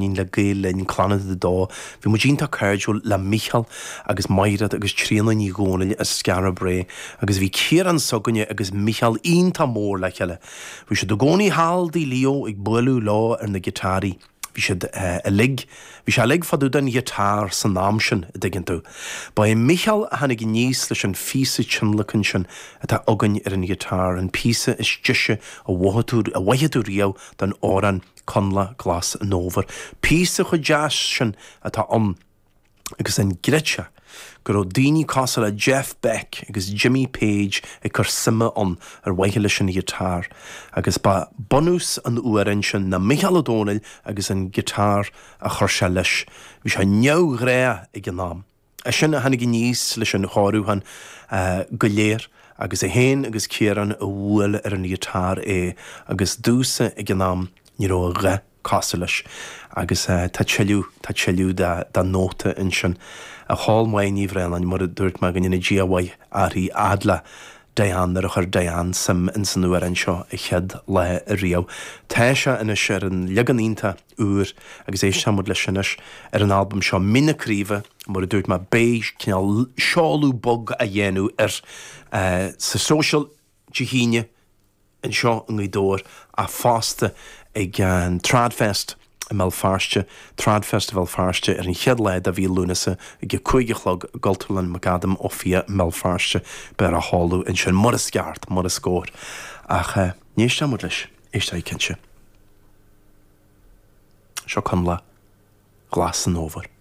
Mainnín le Gael Linn, Clannad 2. Bhí muid iontach cairdiúil le Mícheál agus Maighread agus Tríona Ní Dhomhnaill as Skara Brae agus bhí Ciarán s'againne agus Mícheál iontach mór le chéile. Bhí siad i gcónaí thall dtigh Leo ag bualadh leo ar na giotáraí. Bhí siad uilig, bhí sé uilig fá dtaobh den ghiotár san am sin, a dtuigeann tú. Ba é Mícheál a tháinig aníos leis an phíosa tionlacain sin atá againn ar an ghiotár, an píosa is deise a mhothaigh tú, a mhoithfidh tú riamh den amhrán Coinleach Glas an Fhómhair. Píosa chomh deas sin atá ann. Agus an gcreidfeá go raibh daoine cosúil le Jeff Beck agus Jimmy Page ag cur suime ann ar mhaithe leis an ghiotár. Agus ba bunús an amhráin sin ná Micheál Ó Domhnaill agus an giotár a chuir sé leis. Bhí sé neamhghnách ag an am. Eisean a tháinig aníos leis an chóiriúchán go léir agus é féin agus Ciarán a bhuail ar an ghiotár é agus domhsa ag an am ní raibh a dhath cosúil leis. Agus tá tuilleadh, tá tuilleadh de nóta ansin. A chol maith Ní Bhraonáin, mar a dúirt mé, go ndéana Dia a mhaith uirthi fhad le Diane nuair a chuir Diane suim ins an amhrán seo a chéad lá ariamh. Tá sé anois ar an leagan iontach úr agus éistfidh muid leis anois ar an albam seo Mín na Craoibhe, mar a dúirt mé, beidh cineál seoladh beag á dhéanamh air sa Social Dé hAoine. anseo i nGaoth Dobhair ach fosta ag an Tradfest i mBéal Feirste, Tradfest Bhéal Feirste ar an chéad lá de mhí Lúnasa ag a 5 a chlog i gCultúrlann McAdam Ó Fiaich i mBéal Feirste. Beidh á sheoladh ansin, mar is ceart, mar is cóir. Ach ní éistfidh muid leis, éistfidh cinnte. Seo Coinleach Ghlas an Fhómhair.